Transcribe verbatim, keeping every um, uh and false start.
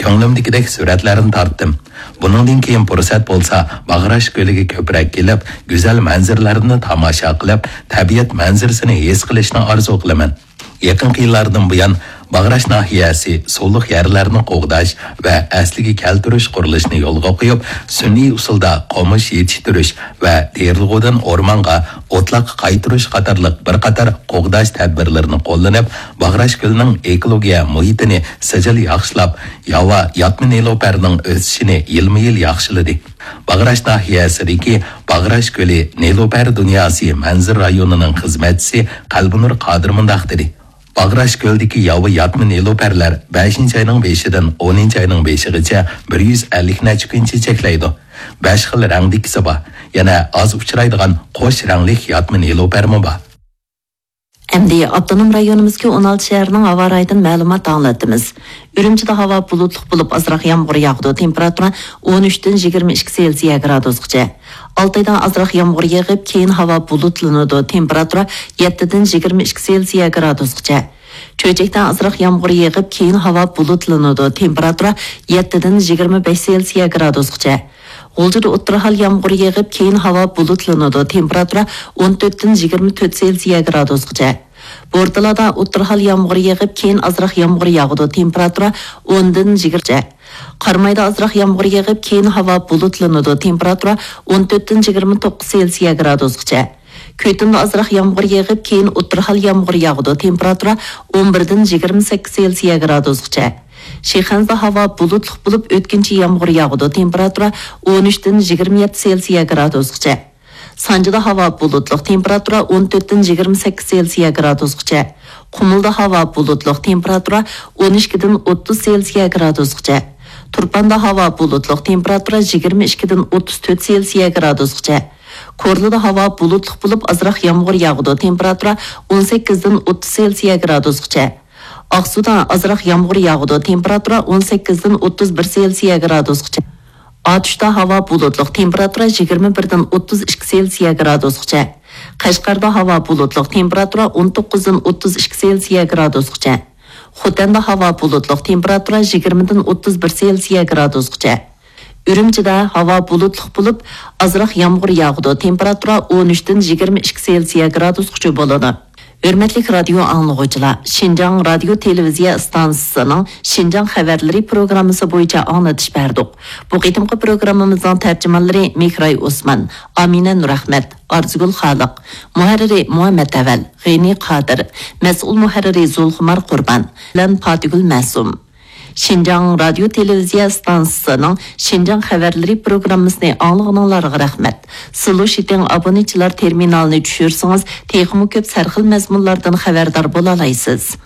كۆڭلۈمدىكىدەك سۈرەتلەرنى تارتتىم. بۇنىڭدىن كېيىن پۇرسەت بولسا، باغراش كۆلىگە كۆپرەك كېلىپ، گۈزەل مەنزىرىلەرنى تاماشا قىلىپ، تەبىئەت مەنزىرىسىنى ھېس قىلىشنى ئارزۇ قىلىمەن. يېقىنقى يىللاردىن بۇيان، باغراش ناھىيەسى سۇلۇق يەرلەرنى قوغداش ۋە ئەسلىگە كەلتۈرۈش قۇرۇلۇشىنى يولغا قويۇپ، سۈنئىي ئۇسۇلدا قومۇش يېتىشتۈرۈش ۋە دېرىلغۇدىن ئورمانغا ئوتلاق قايتۇرۇش قاتارلىق بىر قاتار قوغداش تەدبىرلىرىنى قوللىنىپ، باغراش كۆلىنىڭ ئېكولوگىيە مۇھىتىنى سىجىل ياخشىلاپ، ياۋا ياتما نېلۇپەرنىڭ ئۆسۈشىنى يىلمۇ-يىل ياخشىلىدى. باغراش ناھىيەسىدىكى باغراش كۆلى نېلۇپەر دۇنياسى مەنزىرە رايونىنىڭ خىزمەتچىسى قەلبىنۇر قادىر مۇنداق دېدى: باغراش كۆلدىكى ياۋا ياتما نېلۇپەرلەر بەشىنچى ئاينىڭ بېشىدىن ئونىنچى ئاينىڭ بېشىغىچە بىر يۈز ئەللىك نەچچە كۈن چېچەكلەيدۇ. بەش خىل رەڭدىكىسى بار. يەنە ئاز ئۇچرايدىغان قوش رەڭلىك ياتما نېلۇپەرمۇ بار. ئەمدى ئاپتونوم رايونىمىزدىكى ئون ئالتە شەھەرنىڭ ھاۋا رايىدىن مەلۇمات ئاڭلىتىمىز. ئۈرۈمچىدە ھاۋا بۇلۇتلۇق بولۇپ، ئازراق يامغۇر ياغىدۇ. تېمپېراتۇرا ئون ئۈچتىن يىگىرمە ئىككى سېلسىيە گرادۇسقىچە. ئالتايدا ئازراق يامغۇر يېغىپ، كېيىن ھاۋا بۇلۇتلىنىدۇ. تېمپېراتۇرا يەتتىدىن يىگىرمە ئىككى سېلسىيە گرادۇسقىچە. چۆچەكتە ئازراق يامغۇر يېغىپ، كېيىن ھاۋا بۇلۇتلىنىدۇ. تېمپېراتۇرا يەتتىدىن يىگىرمە بەش سېلسىيە گرادۇسقىچە. غۇلجىدا ئوتتۇرا ھال يامغۇر يېغىپ، كېيىن ھاۋا بۇلۇتلىنىدۇ. تېمپېراتۇرا ئون تۆتتىن يىگىرمە تۆت سېلسىيە گرادۇسقىچە. بورتالادا ئوتتۇرا ھال يامغۇر يېغىپ، كېيىن ئازراق يامغۇر ياغىدۇ. تېمپېراتۇرا ئوندىن يىگىرمە. قارامايدا ئازراق يامغۇر يېغىپ، كېيىن ھاۋا بۇلۇتلىنىدۇ. تېمپېراتۇرا ئون تۆتتىن يىگىرمە توققۇز سېلسىيە گرادۇسقىچە. كۆتۈمدە ئازراق يامغۇر يېغىپ، كېيىن ئوتتۇرا ھال يامغۇر ياغىدۇ. تېمپېراتۇرا ئون بىردىن يىگىرمە سەككىز سېلسىيە گرادۇسقىچە. شىخەنزىدە ھاۋا بۇلۇتلۇق بولۇپ، ئۆتكۈنچى يامغۇر ياغىدۇ. تېمپېراتۇرا ئون ئۈچتىن يىگىرمە يەتتە سېلسىيە گرادۇسقىچە. سانجىدا ھاۋا بۇلۇتلۇق، تېمپېراتۇرا ئون تۆتتىن يىگىرمە سەككىز سېلسىيە گرادۇسقىچە. قۇمۇلدا ھاۋا بۇلۇتلۇق، تېمپېراتۇرا ئون ئىككىدىن ئوتتۇز سېلسىيە گرادۇسقىچە. تۇرپاندا ھاۋا بۇلۇتلۇق، تېمپېراتۇرا يىگىرمە ئىككىدىن ئوتتۇز تۆت سېلسىيە گرادۇسقىچە. كورلىدا ھاۋا بۇلۇتلۇق بولۇپ، ئازراق يامغۇر ياغىدۇ، تېمپېراتۇرا ئون سەككىزدىن ئوتتۇز سېلسىيە گرادۇسقىچە. ئاقسۇدا ئازراق يامغۇر ياغىدۇ، تېمپېراتۇرا ئون سەككىزدىن ئوتتۇز بىر سېلسىيە گرادۇسقىچە. ئاتۇشتا ھاۋا بۇلۇتلۇق، تېمپېراتۇرا يىگىرمە بىردىن ئوتتۇز ئىككى سېلسىيە گرادۇسقىچە. قەشقەردە ھاۋا بۇلۇتلۇق، تېمپېراتۇرا ئون توققۇزدىن ئوتتۇز ئىككى سېلسىيە گرادۇسقىچە. خوتەندە ھاۋا بۇلۇتلۇق، تېمپېراتۇرا يىگىرمىدىن ئوتتۇز بىر سېلسىيە گرادۇسقىچە. ئۈرۈمچىدە ھاۋا بۇلۇتلۇق بولۇپ، ئازراق يامغۇر ياغىدۇ، تېمپېراتۇرا ئون ئۈچتىن يىگىرمە ئىككى سېلسىيە گرادۇسقىچە بولىدۇ. ھۆرمەتلىك رادىيو ئاڭلىغۇچىلار، شىنجاڭ رادىيو تېلېۋىزىيە ئىستانسىسىنىڭ شىنجاڭ خەۋەرلىرى پروگراممىسى بويىچە ئاڭلىتىش بەردۇق. بۇ قېتىمقى پروگراممىمىزنىڭ تەرجىمانلىرى مېھراي ئوسمان، ئامىنە نۇرئەخمەت، ئارزۇگۈل خالىق، مۇھەررىرى مۇھەممەت ئەۋەل، غېنى قادىر، مەسئۇل مۇھەررىرى زۇلخۇمار قۇربان بىلەن پاتىگۈل مەسۇم. شىنجاڭ رادىيو تېلېۋىزىيە ئىستانسىسىنىڭ شىنجاڭ خەۋەرلىرى پروگراممىسىنى ئاڭلىغىنىڭلارغا رەھمەت. سىلۇشىتىڭ ئابونېنتچىلار تېرمىنالىنى چۈشۈرسىڭىز، تېخىمۇ كۆپ سەرخىل مەزمۇنلاردىن خەۋەردار بولالايسىز.